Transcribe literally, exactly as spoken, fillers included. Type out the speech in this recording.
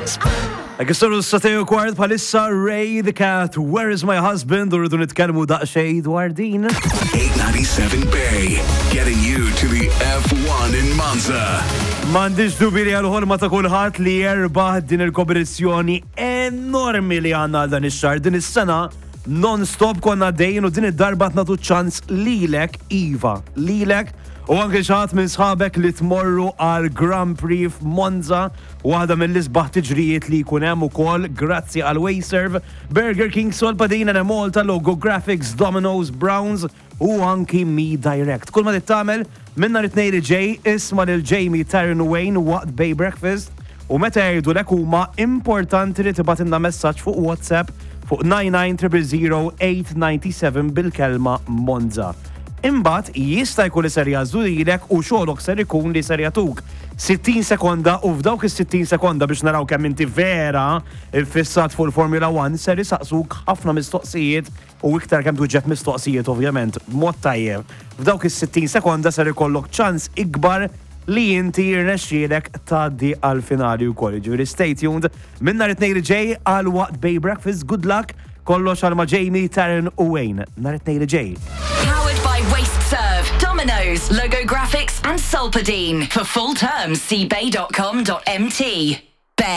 Għal is-sagħtejn u kwart bħalissa Ray the Cat, Where is my husband? U rridu nitkellmu daqsxejn dwar din. eight ninety-seven Bay, getting you to the F one in Monza. M'għandix dubju li għal-ħolma ta' kulħadd li jerbaħ din il-kompetizzjoni enormi li għandna għal dan ix-xahar. Din is-sena non-stop konna dejn u din id-darba nagħtu ċans lilek, iva, lilek u anke xi ħadd minn sħabek li tmorru għal Grand Prix f'Monza, waħda mill-isbaħ tiġrijiet li jkun hemm ukoll, grazzi għal WasteServ, Burger King, Solpadeine, Malta, Logo Graphics, Domino's, Browns u anki Me Direct. Kull ma tagħmel minn nhar it-Tnejn li ġej, isma' lil Jamie, Taryn u Wayne waqt Bay Breakfast u meta jgħidu huma importanti li tibgħatilna messaġġ fuq WhatsApp fuq nine nine zero zero eight nine seven bil-kelma Monza. Imbagħad jista' jkun li ser jagħżlu lilek u xogħolok ser ikun li ser jagħtuk sittin sekonda u f'dawk is-sittin sekonda, biex naraw kemm inti vera fissat fuq il-Formula one, ser jisaqsuk ħafna mistoqsijiet u iktar kemm tuġġeb mistoqsijiet, ovvjament mod tajjeb. F'dawk is-sittin sekonda ser ikollok ċans ikbar li inti jirnexxielek tgħaddi għal-finali wkoll. Ġifieri stay tuned minn nhar it-Tnejn li ġej għal waqt Bay Breakfast. Good luck, kollox għal ma' Jamie, Taryn u Wayne. Nhar it-Tnejn li ġej. Powered by WasteServ, Domino's, Logo Graphics, and Solpadeine. For full terms, see bay dot com dot M T.